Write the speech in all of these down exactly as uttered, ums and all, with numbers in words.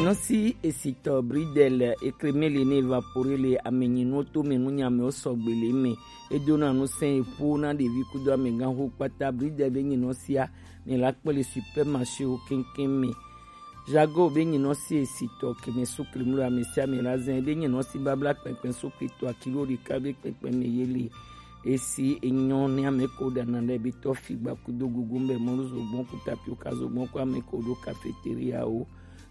Nɔsi esitɔ Bridel ekremele ne evapore le amenyinu to me nunyame wo sɔgbe le me. Edona nusẽ eƒo na ɖevi kudo amegãxo kpata. Bridel be nyinɔsia mi la kpɔ le supermarché wo keŋkeŋ me. Jago be nyinɔsi esitɔ keme sukli mlo ame sia ame la zɛn be nyinɔsi babla kpɛnkpɛn sukli to akilo ɖeka be kpɛnkpɛn me ye le. Esi enyɔ ne ame ko ɖana ɖe be tɔ figba kudo gugu be mɔlu zogbɔn ku tapioka zogbɔn ku ame ko ɖo cafeteria wo.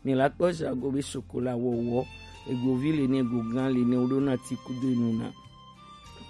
Mi la kpɔ jago be chocolat wɔwɔ, egovi le ne, egogã le ne, wo ɖo na ti kudo enu na.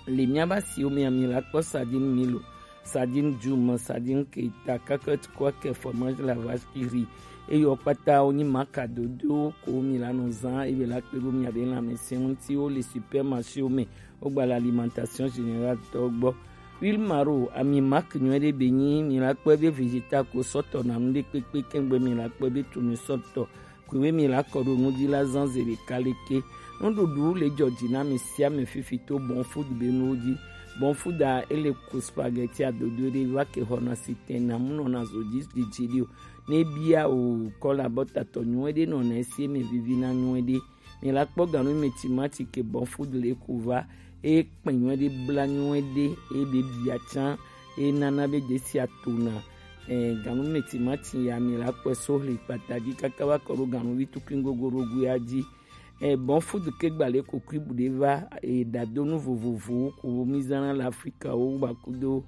Le miaba siwo mea mi la kpɔ sardine Milo, sardine Jum, sardine Keita, cacahuète, kwake, fromage la vache qui rit. Eye wo kpata wo nyi maka dodo ko mi la nɔ zã eye la kpe ɖo mia be lãmesẽ ŋuti wo le supermarché wo me. Wo gba le alimentation générale tɔ gbɔ. Huile maro, ami mak nyuie ɖe be nyi mi la kpɔ be vegetal ko sɔtɔ na nu ɖe kpekpe kɛngbe mi la kpɔ be tunu sɔtɔ. Kwe we mi la kɔ ɖo nu dzi la zã ze ɖeka leke. Nuɖuɖu le dzɔ dzi na ame sia ame fifi to Bon Food be nuwo dzi. Bon Food a ele ku spaghetti adodo ɖe va ke xɔna si tɛn na mu nɔna zo dzi dzidzi ɖi o. Ne bia o kɔ la bɔ tatɔ nyuie ɖe nɔna esi eme vivi na nyuie ɖe. Mi la kpɔ ganu me timati ke Bon Food le ku va. E kpɛ nyuie ɖe bla nyuie ɖe e be bia tsã e nana be desi atona. Eh, ganu me timati ya mi la kpɔ so hli kpata dzi kaka va kɔ ɖo ganu vi tukui gogo ɖo gu ya dzi. Eh, Bon Food ke gba le kokui bu ɖe va e ɖadonu vovovowo ko mi zana le Afrika wo gba kudo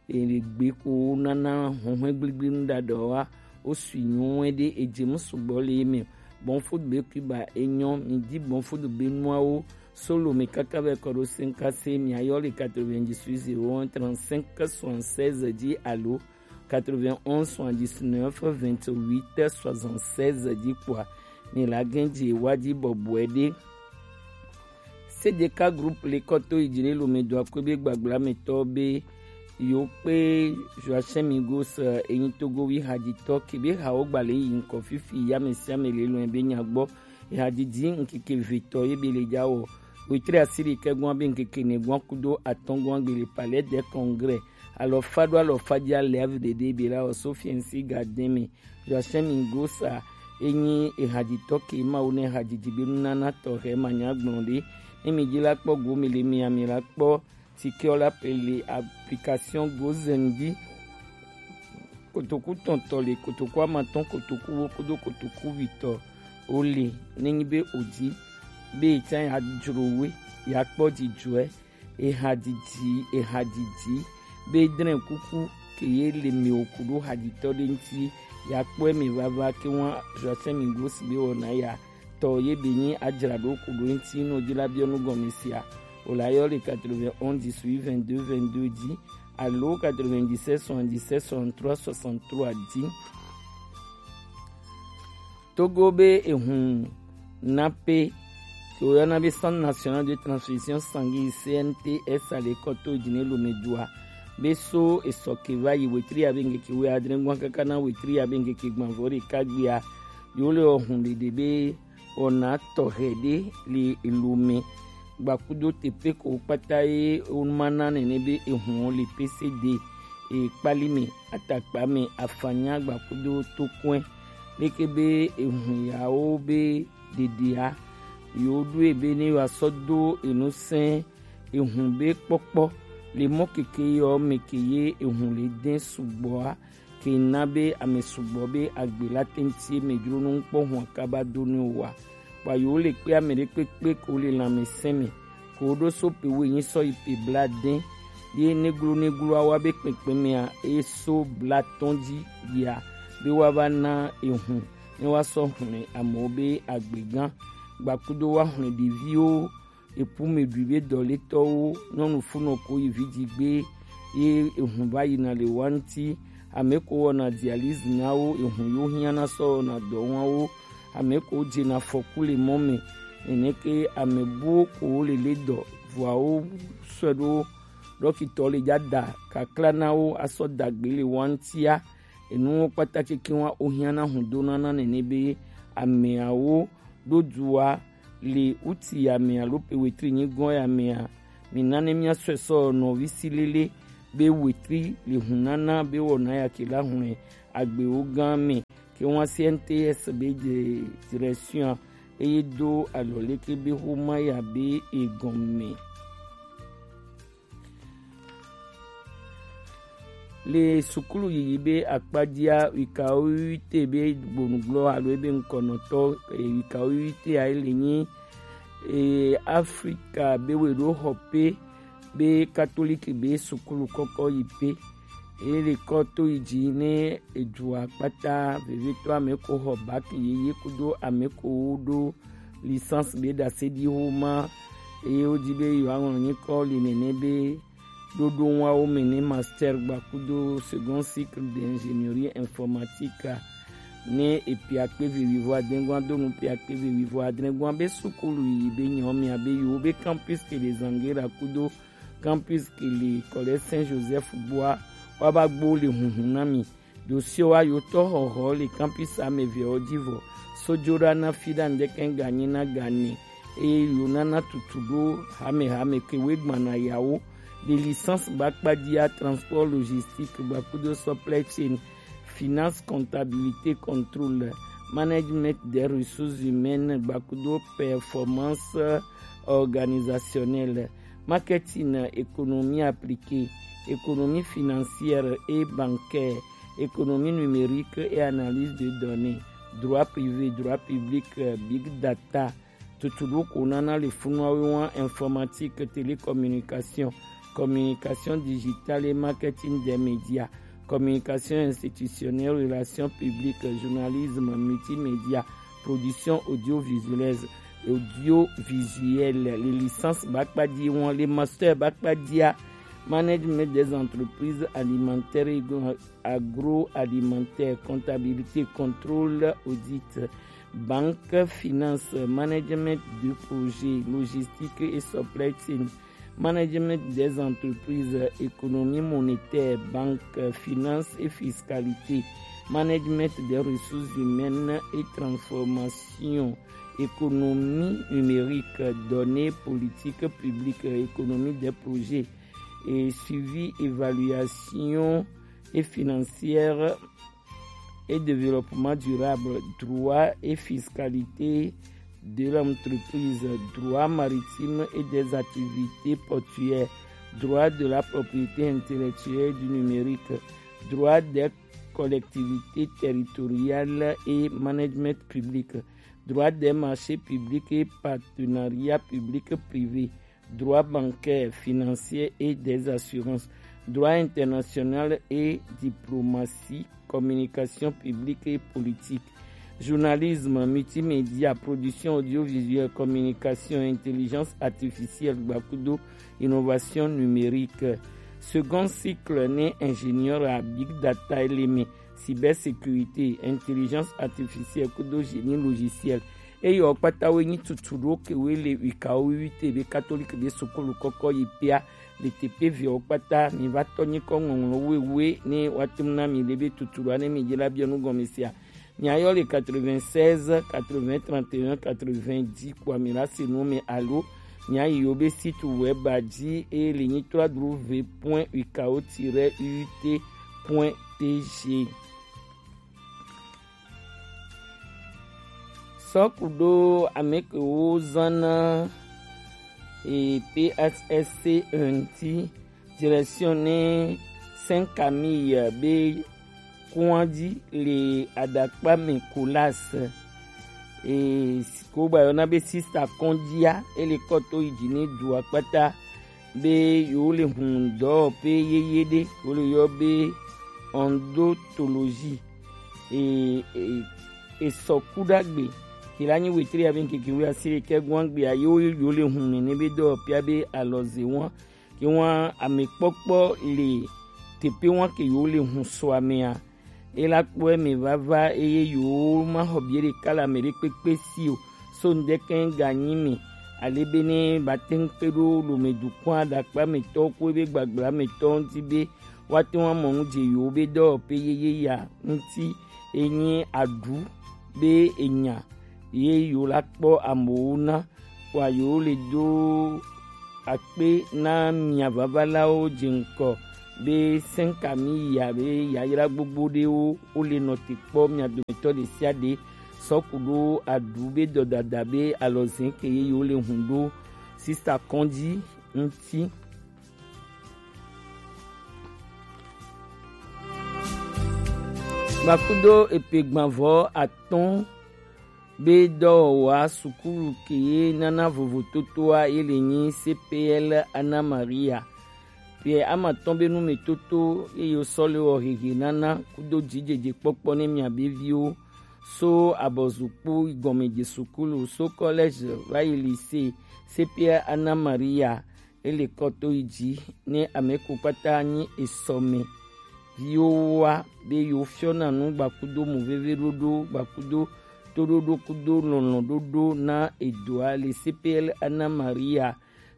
egbe ko nana huhue gbligblinu ɖaɖa wa wo sui nyuie ɖe edze mu sugbɔ le eme. Bon Food be kui ba enyɔ mi di Bon Food be nuawo solo me kaka va kɔ ɖo senkase mi ayɔ le quatre-vingt-dix-huit zéro un trente-cinq soixante-seize dzi alo quatre-vingt-onze soixante-dix-neuf vingt-huit soixante-seize dzi kpɔa mi la gɛn dzi wa dzi bɔbɔe ɖe. C D K groupe le kɔto yi dzi ne lome do akɔe be gbagba me tɔ be yo kpe Joachim Migos enyi Togo wi hadzitɔ ke be hawo gba le yi ŋkɔ fifi ya me sia me le lɔe be nya gbɔ. Ehadzidzi ŋkeke vetɔ ye be le dza wɔ. Wetri asiri ke gɔn be ŋkeke ne gɔn kudo atɔn gɔn gbe le Palais des Congrès. Alɔfa ɖo alɔfa dzi ale avi ɖeɖe be la wɔ Sofiensi Gardin me. Joachim Migos enyi ehadzitɔ ke Mawu ne hadzidzi be nunana tɔxɛ manya gblɔ ɖe. Ne mi dzi la kpɔ go mi le mi ami la kpɔ tikɛ la pe le application Gozen dzi. Kotoku tɔntɔ le kotoku amatɔn kotoku wo kudo kotoku vitɔ wo le ne nyi be o dzi be tsã ya dzro we ya kpɔ dzidzɔe. Ehadzidzi, ehadzidzi be drɛn kuku ke ye le mi o kudo hadzitɔ ɖe ŋuti ya kpɔe mi vava ke wa Joachim Migos be wɔna ya tɔ ye be nyi adzra ɖo kudo ŋuti no dzi la biɔ nu gɔme sia. O la yɔ le quatre-vingt-onze dix-huit vingt-deux vingt-deux dzi alo quatre-vingt-dix-sept soixante-dix-sept soixante-trois soixante-trois dzi. Togo be ehun nape ke woyɔna be Centre National de Transfusion Sanguine, C N T S, ale kɔto dzi ne lome dua be so esɔ ke va yi wetri ya be ŋkeke wuiadre gban kaka na wetri ya be ŋkeke gbanvɔ ɖeka gbea yewo le ehun ɖeɖe be wɔna tɔxɛ ɖe le elome gbakudo teƒe ko kpata ye woma na nene be ehun le P C D ekpali me atakpa me afanya gbakudo tokɔe leke be ehun yawo be ɖeɖea yewo ɖoe be ne yewoasɔ do enusẽ ehun be kpɔkpɔ le mɔ keke yɔ me ke ye ehun le dɛn sugbɔa ke na be ame sugbɔ be agbe la teŋti me dzro nu kpɔ hua kaba do ne wa. Kpa yewo le kpe ame ɖe kpekpe ko le lãmesẽ me ko ɖo so pe wo nyi sɔ yi pe bla dɛn ye neglo neglo awa be kpekpe mea eye so bla tɔn dzi yia be wa va na ehun ne wa sɔ hlɔ̃ amewo be agbe gã gbakudo wa hlɔ̃ ɖeviwo epu me ɖui be dɔletɔwo nyɔnu funɔ ko yi vidzi gbe ye ehun va yina le wa ŋuti ame ko wɔna dialyse na wo ehun yo hiã na sɔ wɔna dɔ wa wo ame ko dzena afɔku le mɔ me nene ke ame buwo ko wo le le dɔ vɔa wo sɔe ɖo ɖɔkitɔ le dza da kakla na wo asɔ dagbe le wa ŋutia enuwo kpata keke wa wo hiã na hun do na na nene be ameawo ɖo dua le uti ya me alo pe wetri nyigɔn ya mea mi na ne mia sɔe sɔ nɔvi si lele be wetri le hun nana be wɔna ya ke la hlɔ̃ agbewo gã me ke wan C N T S be de direction eye do alɔ leke be xoma ya be egɔme. Le sukulu yiyi be akpadia wika wite be gbonugblɔ alo ebe ŋkɔnɔtɔ, eh, wika wite a ele nyi, eh, Afrika be we ɖo xɔ pe be katoliki be sukulu kɔkɔ yi pe. Ele kɔ to yi ji ne edua kpata vevitɔ ame ko xɔ bac yeye kudo ame ko wo ɖo licence be ɖase ɖi xoma. Eye wo di be yewoaŋlɔ nyikɔ li nene be ɖoɖo wawo me ne master gba kudo second cycle d'ingénierie informatique a, ne epiakpe ve wivo adengua do nu piakpe ve wivo adrengua be sukulu yi be nyawo mia be yewo be campus ke le Zangera kudo campus ke le Collège Saint Joseph gbɔa, wa ba gbo le hunhun na mi. Ɖo sio wa yo tɔ xɔxɔ le campus ame ve ɔ ji vɔ. Sojo ɖa na fi ɖa ŋdɛkɛ ganyi na gane. Eye yo nana tutu ɖo hame hame ke we gbana yawo. Le licence ba kpadia transport logistique gba kudo supply chain, finance, comptabilité, contrôle, management des ressources humaines gba kudo performance organisationnelle, marketing, économie appliquée, économie financière et bancaire, économie numérique et analyse de données, droit privé, droit public, euh, big data, tutuɖo ko nana le funu awe wan informatique, télécommunication, communication digitale et marketing des médias, communication institutionnelle, relations publiques, journalisme, multimédia, production audiovisuelle, audiovisuelle, les licences ba kpadia, les masters ba kpadia, management des entreprises alimentaires et agroalimentaires, comptabilité, contrôle, audit, banque, finance, management de projet, logistique et supply chain, management des entreprises, économie monétaire, banque, finance et fiscalité, management des ressources humaines et transformation, économie numérique, données, politique publique, économie des projets et suivi, évaluation et financière et développement durable, droit et fiscalité de l'entreprise, droit maritime et des activités portuaires, droit de la propriété intellectuelle du numérique, droit des collectivités territoriales et management public, droit des marchés publics et partenariats publics privés, droit bancaire, financier et des assurances, droit international et diplomatie, communication publique et politique, journalisme, multimédia, production audiovisuelle, communication, intelligence artificielle, gba kudo innovation numérique. Second cycle ne ingénieur à big data élément, cybersécurité, intelligence artificielle kudo génie logiciel. Eye wo kpata wo nyi tutu ɖo ke wo le wika wo wi te be catholique be sukulu kɔkɔ yi pea le teƒe veawo kpata. Mi va tɔ nyikɔ ŋɔŋlɔ wewe ne woate ŋu na mi le be tutu ɖoa ne mi dze la biɔ nu gɔme sia. Miayɔ le quatre-vingt-seize, quatre-vingts, trente et un, quatre-vingts dzi kpɔa mi la se nu me alo miayi yo be site web dzi eye le nyi trois w point wika o tiret u t point t g. Sɔkuɖo ame kewo zãna e P S S C ŋuti, direction ne Saint Camille be kɔadzi le Aɖakpa me Colas, e ko gba yɔna be sista kɔdzia, ele kɔ to yi dzi ne dua kpata be yewo le hun dɔwɔƒe yeye ɖe, wo le yɔ be odontologie. E, e, esɔ ku ɖagbe. Ke la nyi wetri ya be ŋkeke wuiasiɖekɛ gɔagbea yewo yewo le hun nene be dɔwɔƒea be alɔze wa. Ke wa amekpɔkpɔ le teƒe wa ke yewo le hun sɔa mea. Ela kpɔe me vava eye yewo ma xɔ bie ɖeka le ame ɖe kpekpe si o. So ŋdɛkɛ ganyi me ale be ne ba te ŋu kpe ɖo lome dukɔa Aɖakpa me tɔwo ku ebe gbagblã me tɔwo ŋuti be woate ŋu amɔ nu dze yewo be dɔwɔƒe yeye ya ŋuti enye aɖu be enya ye yewo la kpɔ amewo na kpɔa yewo le do akpe na mia vavalawo dze ŋkɔ be sɛnkami ya be yayra gbogbo ɖewo wo le nɔte kpɔ mia dometɔ ɖe sia ɖe sɔku ɖo aɖu be dɔdada be alɔzɛn ke ye yewo le hun ɖo sista kɔndzi ŋuti. Gbakudo epe gbanvɔ atɔ̃ be dɔwɔwɔa sukulu ke ye nana vovototoa ye le nyi C P L Anna Maria. Pierre amatɔ̃ be numetoto ye yewo sɔ le wɔ hehe nana kudo dzidzedze kpɔkpɔ ne mia be viwo so abɔzukpu gɔmedze sukulu so collège va yi lycée C P L Anna Maria. Ele kɔ to yi dzi ne ame ko kpata nyi esɔme viwo wa be yewo fiɔna nu gbakudo moveve ɖoɖo gbakudo toɖoɖo kudo lɔlɔ̃ ɖoɖo na edoa le C P L Anna Maria.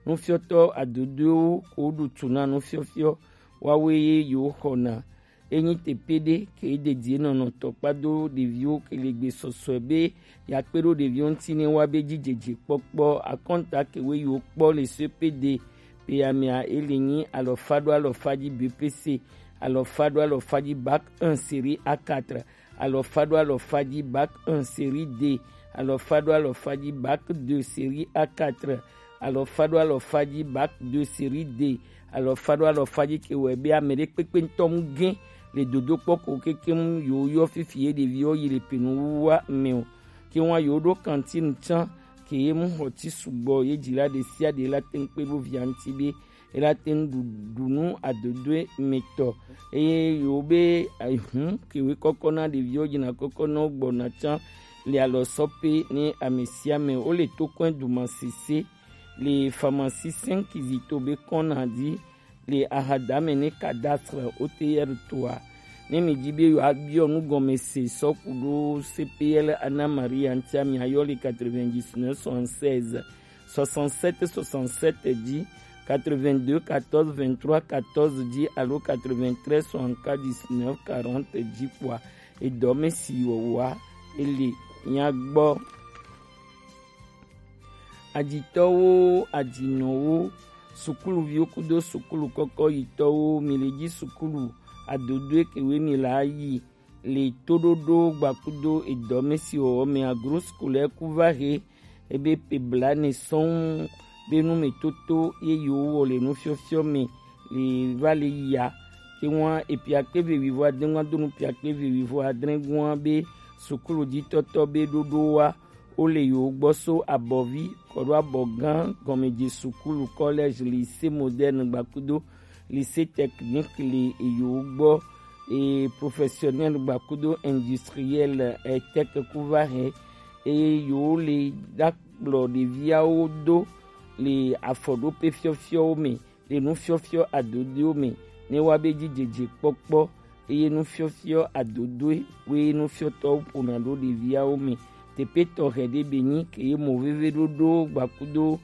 Nufiɔtɔ adodoewo ko ɖu tu na nufiɔfiɔ wawoe ye yewo xɔna. Enyi teƒe ɖe ke dedie nɔnɔtɔ kpado ɖeviwo ke le gbe sɔsɔe be yeakpe ɖo ɖeviwo ŋuti ne woabe dzidzedze kpɔkpɔ. Akɔnta kewe yiwo kpɔ le C P D pe amea ele nyi alɔfa ɖo alɔfa dzi B P C, alɔfa ɖo alɔfa dzi bac un série A quatre, alɔfa ɖo alɔfa dzi bac un série D, alɔfa ɖo alɔfa dzi bac deux série A quatre, alɔfa ɖo alɔfa dzi bac deux série D, alɔfa ɖo alɔfa dzi ke wɔ be ame ɖe kpekpe ŋutɔ mu gẽ le dodokpɔ ko kekeŋ yewo yɔ fifi ye ɖeviwo yi le penu wuwa me o. Ke wa yewo ɖo kantine tsã ke ye mu xɔ ti sugbɔ ye dzila ɖe sia ɖe la te ŋu kpe ɖo via ŋuti be ela te ŋu ɖu ɖu nu adodoe me tɔ. Eye yewo be ehun kewe kɔkɔ na ɖeviwo dzina kɔkɔ na wo gbɔna tsã le alɔsɔpe ne ame sia ame wo le tokɔe duma sese le pharmacie cinq zito be kɔna dzi le ahadame ne cadastre O T R toa. Ne mi di be yewoabiɔ nu gɔme se sɔ ku ɖo C P L Anna Maria ŋutia, miayɔ le quatre-vingt-dix-neuf soixante-seize soixante-sept soixante-sept dzi, quatre-vingt-deux quatorze vingt-trois quatorze dzi alo quatre-vingt-treize soixante-quatre dix-neuf quarante dzi kpoa, edɔ me si wɔwɔa ele mia gbɔ. Adzitɔwo, adzinɔwo, sukuluviwo kudo sukulu kɔkɔ yitɔwo, mi le ji sukulu adodoe kewe mi la yi le toɖoɖo gbakudo edɔ me si wɔwɔ me agro scolaire ku va he ebe pe blane sɔŋ be nu me toto ye yewo wɔ le nufiɔfiɔ me le va le ya. Ke ŋua epiakpe ve wivo adre ŋua do nu piakpe ve wivo adre ŋua be sukulu jitɔtɔ be ɖoɖo wa wo le yewo gbɔ so abɔvi kɔ ɖo abɔ gã gɔmedze sukulu, collège, lycée moderne gbakudo lycée technique le yewo gbɔ, e professionnel gbakudo industriel, e tech ku va he, eye yewo le ɖa kplɔ ɖeviawo do le afɔɖoƒe fiɔfiɔwo me, le nufiɔfiɔ adodoewo me, ne woabe dzidzedze kpɔkpɔ, eye nufiɔfiɔ adodoe woe nufiɔtɔwo ƒona ɖo ɖeviawo me. Teƒe tɔxɛ ɖe be nyi ke ye mo veve ɖoɖo gbakudo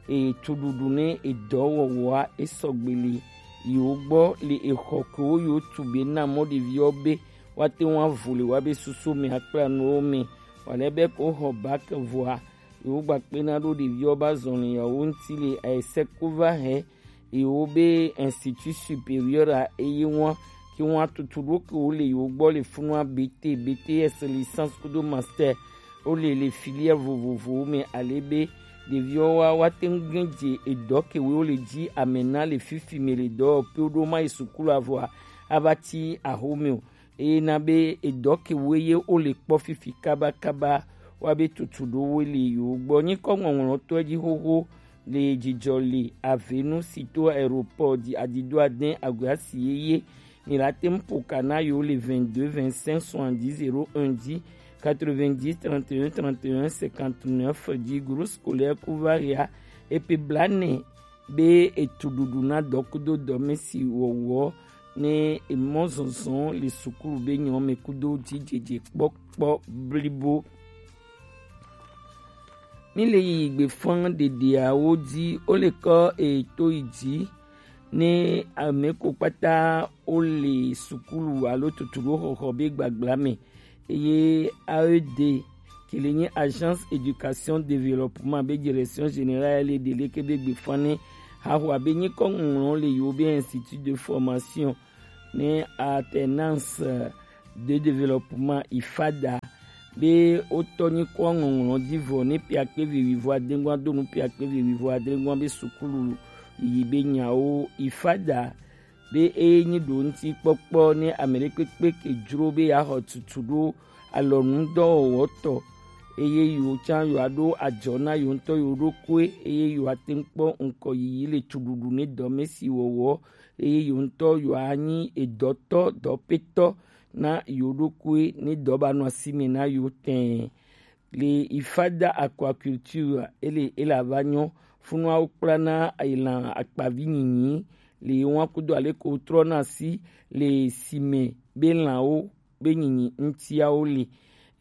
e tuɖuɖu ne edɔ wɔwɔa esɔgbe le yewo gbɔ le exɔ kewo yewo tu be na mɔ ɖeviawo be woate ŋu avu le woabe susu me akpla nuwo me. Wòale be ko xɔ bac vɔa, yewo gbakpena ɖo ɖeviwo ba zɔnli yawo ŋuti le ayeseko va hɛ yewo be Institut Supérieur a eye ŋua ke ŋua tutu ɖo ke wo le yewo gbɔ le funua B T, B T S, licence kudo master wo le le filière vovovowo me ale be ɖeviwo wa woate ŋu gẽ dze edɔ ke wo le dzi ame na le fifi me le dɔ pe wo ɖo ma yi sukulu avɔa ava ti axome o. Eye na be edɔ ke woe ye wo le kpɔ fifi kabakaba wa be tutu ɖo wo le yewo gbɔ. Nyikɔ ŋɔŋlɔtɔe dzi xoxo le dzidzɔ le avenu si to aéroport dzi adido ade aguasi yeye. Mi la te ŋu ƒo ka na yewo le vingt-deux vingt-cinq soixante-dix zéro un dzi, quatre-vingt-dix trente et un trente et un cinquante-neuf dzi. Groupe scolaire Kuvaria epe blane be etuɖuɖu na dɔkudo dɔme si wɔwɔ ne emɔ zɔzɔ le sukulu be nyɔ me kudo dzidzedze kpɔkpɔ blibo. Mi le yi gbe fɔn ɖeɖeawo dzi, wo le kɔ eto yi dzi ne ame ko kpata wo le sukulu alo tutuɖo xɔxɔ be gbagba me. Eye A E D ke le nye Agence Éducation Développement be Direction Générale le ɖe leke be gbe fɔn ne Haxwa be nyikɔ ŋɔŋlɔ le yewo be Institut de Formation ne Alternance de Développement, ifada, be wotɔ nyikɔ ŋɔŋlɔ ji vɔ ne piakpe ve wivo adengua do nu piakpe ve wivo adengua be sukulu yi be nyawo ifada be eye nyi ɖo ŋuti kpɔkpɔ ne ame ɖekpekpe ke dzro be yeaxɔ tutu ɖo alɔnudɔwɔwɔtɔ, eye yewo tsã yewoaɖo adzɔ na yewo ŋutɔ yewo ɖokui, eye yewoate ŋu kpɔ ŋkɔyiyi le tsuɖuɖu ne dɔmesi wɔwɔ, eye yewo ŋutɔ yewoanyi edɔtɔ, dɔpetɔ na yewo ɖokui ne dɔ ba nɔ asi me na yewo tɛɛ. Le ifada aquaculture ele ele ava nyɔ, funua wo kplana elan akpavi nyinyi le wa kudo ale ko trɔna asi le sime be lanwo be nyinyi ŋutiawo le.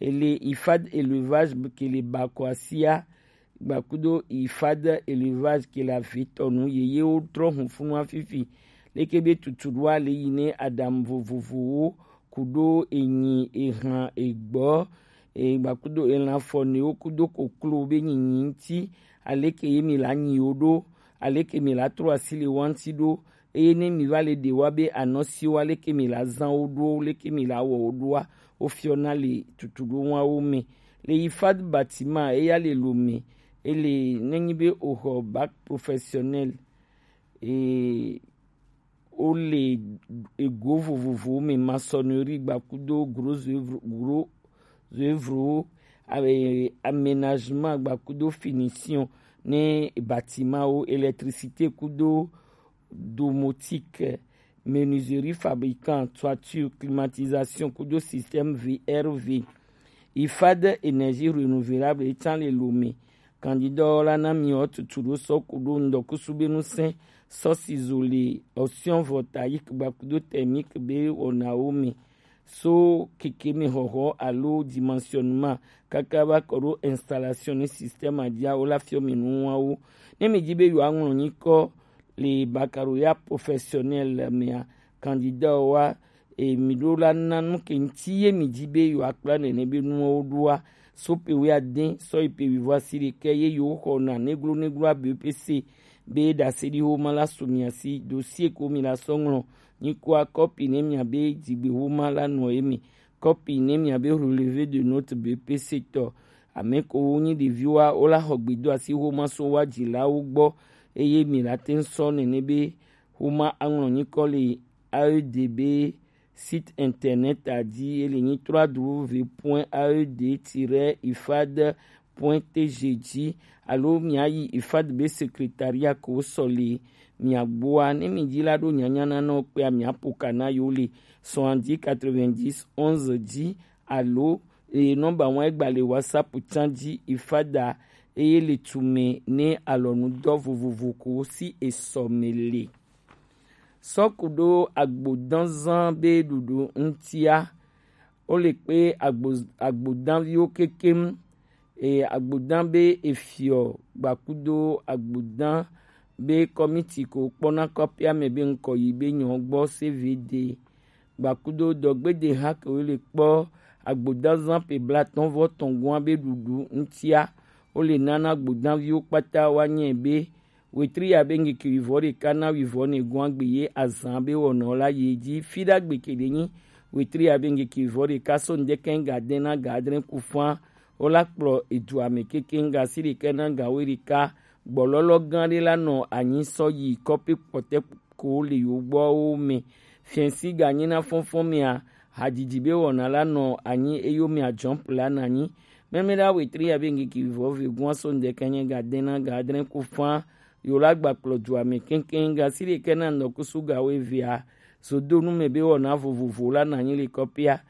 Ele ifad élevage ke le bakɔ asia gbakudo ifad élevage ke le avetɔ nu yeyewo trɔ hun funua fifi. Leke be tutuɖoa le yi ne aɖaŋu vovovowo kudo enyi, ehan, egbɔ, e, gbakudo elan fɔnewo kudo koklo be nyinyi ŋuti, aleke ye mi la nyi wo ɖo, aleke mi la trɔ asi le wa ŋuti ɖo, eye ne mi va le ɖe wa be anɔ si wa, aleke mi la zã wo ɖo, aleke mi la wɔ wo ɖoa, wo fiɔna le tutuɖo wawo me. Le ifad bâtiment eya le lo me, ele ne nyi be o xɔ bac professionnel, e, wo le ego vovovowo me, maçonnerie gbakudo gros œuvre, gros œuvrewo, ame-, aménagement gbakudo finition ne bâtimentwo, électricité kudo domotique, menuiserie fabricant, toiture, climatisation kudo système V R V. Ifad énergie renouvelable etsã le lo me. Candidat la na mi o tutu ɖo sɔ kudo ŋdɔkusu be nusẽ sɔ si zo le option voltaïque gbakudo thermique be wɔnawo me. So keke me xɔxɔ alo dimensionnement kaka va kɔ ɖo installation ne système adia wo la fiɔ mi nuwawo. Ne mi di be yewoaŋlɔ nyikɔ le baccalauréat professionnel mea, candidat wa, e, mi ɖo la na nu ke ŋuti ye mi di be yewoakpla nene be nuwo ɖoa, so pe wuiade sɔ yi pe wuivo asi ɖekɛ ye yewo xɔna neglo neglo abe pe se be ɖase ɖi xoma la su mia si dossier ko mi la sɔ ŋlɔ nyikɔa kɔpi ne mia be dzigbe xoma la nɔ ye mi. Kɔpi ne mia be relevé de note B P C tɔ. Ame ko wo nyi ɖeviwoa, wo la xɔ gbedoasi xoma so wa dzilawo gbɔ, eye mi la te ŋu sɔ nene be xoma aŋlɔ nyikɔ le A E D be site internet a dzi, ele nyi trois W point A E D tiret ifad point T G dzi, alo miayi ifad be secrétariat ko sɔ le mia gbɔa. Ne mi dzi la ɖo nyanya na nɔ kpea, mia ƒo ka na yo le soixante-dix quatre-vingt-dix onze dzi, alo, e, nɔmba wa egba le WhatsApp tsã dzi, ifada, eye le tume ne alɔnudɔ vovovo ko si esɔ me le. Sɔ ku ɖo agbodanzan be ɖuɖu ŋutia, wo le kpe agbo-, agbodanviwo kekem, e, agbodan be efiɔ gbakudo agbodan be kɔmiti ko kpɔna kɔƒea me be ŋkɔ yi be nyɔ gbɔ C V D gbakudo dɔgbede ha ke wo le kpɔ agbodanzan pe blatɔn vɔ tɔn gɔa be ɖuɖu ŋutia, wo le nana agbodanviwo kpata wa nyɛ be wetri ya be ŋkeke wivɔ ɖeka na wivɔ ne gɔa gbe ye azan be wɔnɔ la ye dzi fi ɖa gbe ke ɖe nyi wetri ya be ŋkeke wivɔ ɖeka so ŋdɛkɛ ga de na ga adre ku fã, wo la kplɔ edua me keke ŋga si ɖeka na ga wo ɖeka gbɔlɔlɔ gã ɖe la nɔ anyi sɔ yi kɔpe kpɔtɛ ko le yo gbɔwo me. Fiɛnsi ganyi na fɔnfɔn mea, hadzidzi be wɔna la nɔ anyi eyo mea jɔmp la na nyi. Mɛmɛ la wetri ya be ŋkeke vivɔ ve gua so ŋdɛkɛ nye ga de na ga adre ku fã, yo la gba kplɔ dua me keŋkeŋ ga si ɖekɛ na ŋdɔkusu ga wo evea. Zodonu me be wɔna vovovo la na nyi le kɔpia.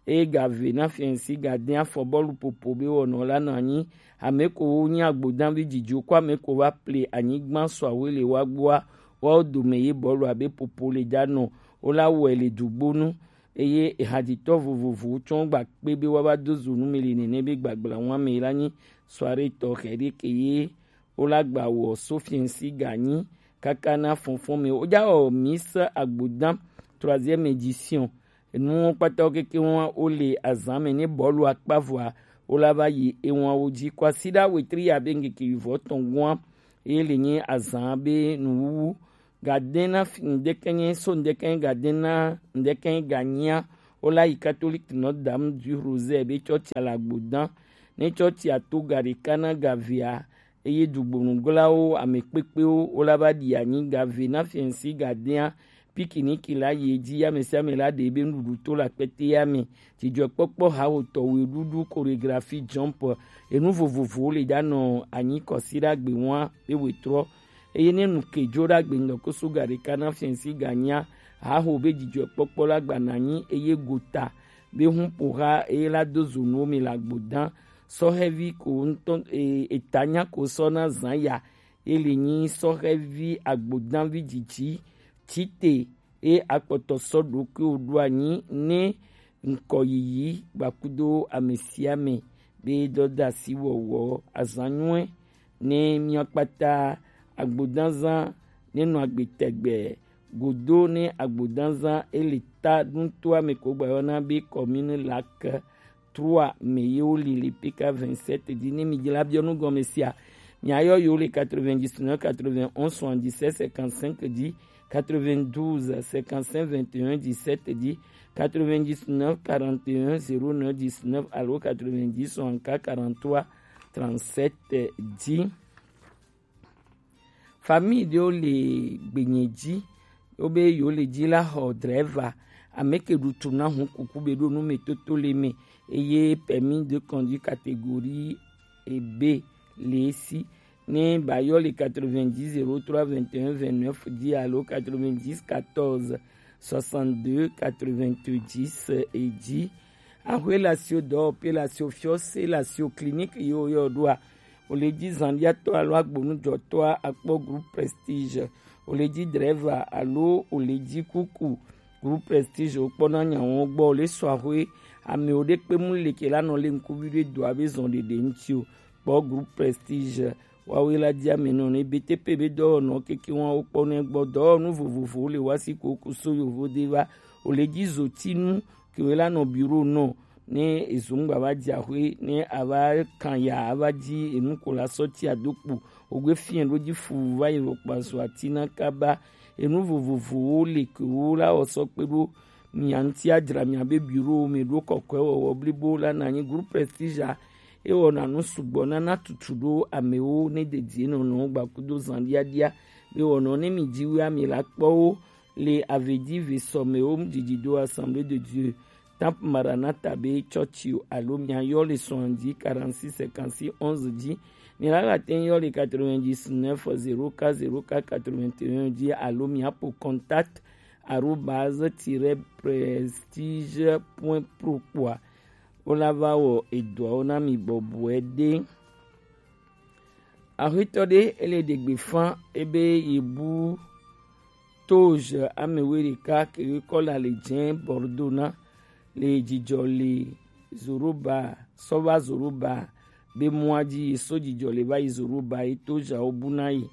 Eye ga ve na fiɛnsi ga de afɔ bɔlu popo be wɔnɔ la nɔ anyi. Ame ko wo nyi agbodanvi dzidziwo ko ame ko va ple anyigba sɔ awoe le wa gbɔa, woawo dome ye bɔlu abe popo le da nɔ, wo la wɔe le dugbonu. Eye ehadzitɔ vovovowo tsɔ gba kpe be woava do zo nu me le nene be gbagbla ŋua me la nyi soirée tɔxɛ ɖe ke ye wo la gba wɔ so fiɛnsi ga nyi kaka na fɔnfɔn me. Wo ja wɔ Miss Agbodan troisième édition. Enuwo kpata wo keke wa wo le azan me ne bɔlu akpa vɔa wo la va yi ewa wo dzi. Kwasiɖa wetri ya be ŋkeke wivɔ tɔn gua Eye le nyi azan be nuwuwu. Gadena fi-, ndekɛnyɛ so ndekɛnyɛ gadena ndekɛnyɛ ganyia. Wo la yi Catholique Notre Dame du Rosaire be cɔcia le Agbodan. Ne cɔcia to ga ɖeka na gavea, eye dugbonuglawo, ame kpekpewo, wo la va ɖi anyi gave na fiɛnsi gadea. Pikiniki la yi edzi, ame sia ame la ɖe ebe nuɖuɖu to le akpete ya me. Dzidzɔkpɔkpɔ hawotɔ, weɖuɖu, chorégraphie, jump, enu vovovowo le ɖa nɔ anyi kɔsiɖagbe wa be wetrɔ. Eye ne nu ke dzo ɖagbe ŋdɔ koso ga ɖeka na fiɛnsi ganya, haho be dzidzɔkpɔkpɔ la gba na anyi eye gota be hun ƒo ha eye la do zo nuwo me le Agbodan. Sɔhɛvi ko ŋutɔ, e, etanya ko sɔ na zan ya. Ye le nyi sɔhɛvi Agbodanvi dzidzi tite ye akpɔtɔ sɔ ɖokuiwo ɖo anyi ne ŋkɔ yiyi gbakudo ame sia ame be dɔdasi wɔwɔ azan nyuie ne mía kpata. Agbodanzan ne nɔ agbe tɛgbɛ godo ne Agbodanzan ele ta ɖutoa me ko gbayɔna be commune lac trois me ye wo li le P K vingt-sept dzi. Ne mi dzra biɔ nu gɔme sia, mia yɔ yo le quatre-vingt-dix-neuf quatre-vingt-onze soixante-dix-sept cinquante-cinq dzi, quatre-vingt-douze cinquante-cinq vingt et un dix-sept dzi, quatre-vingt-dix-neuf quarante et un zéro neuf dix-neuf alo quatre-vingt-dix soixante-quatre quarante-trois trente-sept dzi. Famille ɖewo le gbenye dzi, wobe yewo le dzi la xɔ drɛva, ame ke ɖu tu na hun kuku be ɖo nu me toto le me, eye permis de conduire catégorie B le esi. Ne ba yɔ le quatre-vingt-dix zéro trois vingt et un vingt-neuf dzi alo quatre-vingt-dix quatorze soixante-deux quatre-vingt-dix dzi. Axwe le asio dɔwɔƒe, le asio fiɔse, le asio clinique yewo yɔ ɖoa, wòle dzi zanɖiatɔ alo agbonujɔtɔa akpɔ groupe Prestige, wòle dzi drɛva alo wòle dzi kuku groupe Prestige wokpɔna nyawo gbɔ, wòle sɔ axwe amewo ɖe kpe mu le ke la nɔ le ŋkuvi ɖe dɔa be zɔn ɖeɖe ŋuti o. Kpɔ groupe Prestige, wawe la dzi ame nɔ ne B T P be dɔwɔnɔ keke wa wokpɔ ne gbɔ dɔwɔnu vovovowo le wasi ko kuso yovo de va, wòle dzi zotinu kewe la nɔ bureau nɔ ne ezo ŋgba va dzi axwe ne ava kan ya ava dzi enu ko la sɔ ti ado kpo. Ogbe fiɛ ɖo dzi fu va yi vɔ kpa zo ati na kaba. Enu vovovowo le ke wo la wɔ sɔ kpe ɖo mia ŋuti adzra mia be bureau me ɖo kɔkɔe wɔwɔ blibo la na anyi groupe Prestige a. Ewɔna nu sugbɔ nana tutu ɖo amewo ne dedie nɔnɔwo gbakudo zan ɖiaɖia. Be wɔnɔ ne mi dzi wia mi la kpɔ wo le avedi ve sɔmewo didi do Assemblée de Dieu, Temple Maranatha be chɔchiwo alo mia yɔ le soixante-dix quarante-six cinquante-six onze dzi. Mi la ga te yɔ le quatre-vingt-dix-neuf zéro quatre zéro quatre quatre-vingt-un dzi alo mia po contact arobase tiret prestige point pro kpɔa. Wo la va wɔ edɔawo na mi bɔbɔe ɖe. Axwetɔ ɖe ele ɖe gbe fã ebe yebu Toge ame wuiɖeka ke kɔ le ali dze Bordeaux na le dzidzɔ le Zoroba sɔ va Zoroba be mɔa dzi ye so dzidzɔ le va yi Zoroba ye Togeawo bu na ye.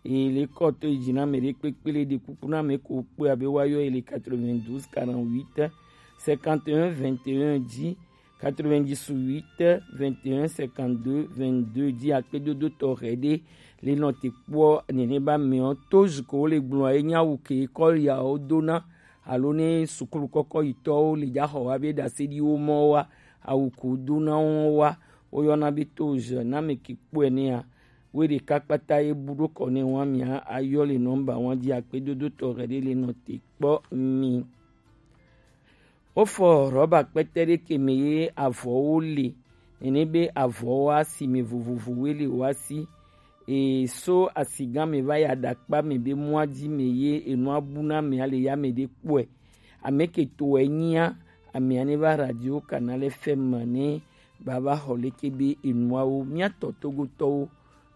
Ye le kɔ to yi dzi na ame ɖe kpekpe le ɖe kuku na ame ko kpe abe wa yɔ ye le quatre-vingt-douze quarante-huit cinquante et un vingt et un dzi, quatre-vingt-dix-huit vingt et un cinquante-deux vingt-deux dzi akpedodo tɔxɛ ɖe le nɔ te kpɔ nene ba mɛ ɔ Toge ko wo le gblɔ ye nya wu ke kɔ ya wo do na alo ne sukulu kɔkɔ yitɔwo le dza xɔ wa be ɖase ɖi wo mɔ wa awu ko do na wo wa wo yɔna be Toge na ame ke kpɔe nea. Wo ɖeka kpata ye bu ɖo kɔ ne wa mia ayɔ le nɔmba wa dzi akpedodo tɔxɛ ɖe le nɔ te kpɔ mi. Wofɔ rɔba kpɛtɛ ɖe ke me ye avɔwo le, nene be avɔwo asime vovovowoe le woa si. E so asigã me va yi aɖakpa me be mɔa dzi me ye enua bu na amea le ya me ɖe kpɔe. Ame ke tɔe nyia, amea ne va radio Canal F M ne ba va xɔ leke be enuawo mía tɔ Togotɔwo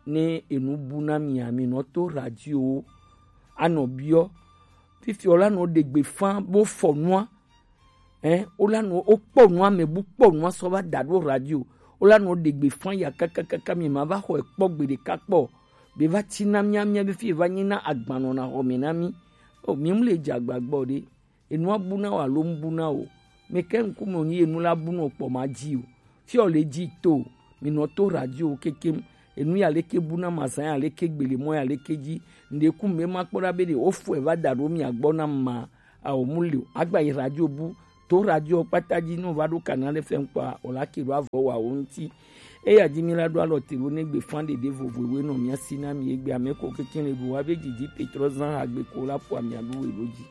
ne enu bu na mia mi nɔ to radiowo anɔ biɔ fifi wola nɔ ɖe gbe fã bo fɔ nua. Ɛ wola nɔ wokpɔ nua me bu kpɔ nua sɔ va da ɖo radio wola nɔ ɖe gbe fã ya kakakaka mi ma va xɔe kpɔ gbe ɖeka kpɔ be va ti na mía mía be fi va nyi na agbanɔ na xɔ me na mi. O mi mu le dze agbagbɔ ɖe enua bu na o alo mu bu na o. Meke ŋkume wonyi enu la bu nɔ kpɔ ma dzi o. Fiɔ le dzi to mi nɔ to radio kekem. Enu ya leke bu na ma zan ya leke gbele mo ya leke ji. Nde ku me ma kpɔ ɖa be ɖe wo fɔe va da ɖo mia gbɔ na ma. Awo mu le o. Agba yi radio bu. To radio kpata ji no va ɖo kana ɖe fɛn kpɔ o la ke ɖo avɔ wa wo ŋuti. Eya ji mi la ɖo alɔ te ɖo ne gbe fan ɖeɖe vovo we nɔ mia si na mi egbe ame ko keke le ɖo wa be didi petrɔ zan ha gbe ko la po amia ɖo we ɖo ji.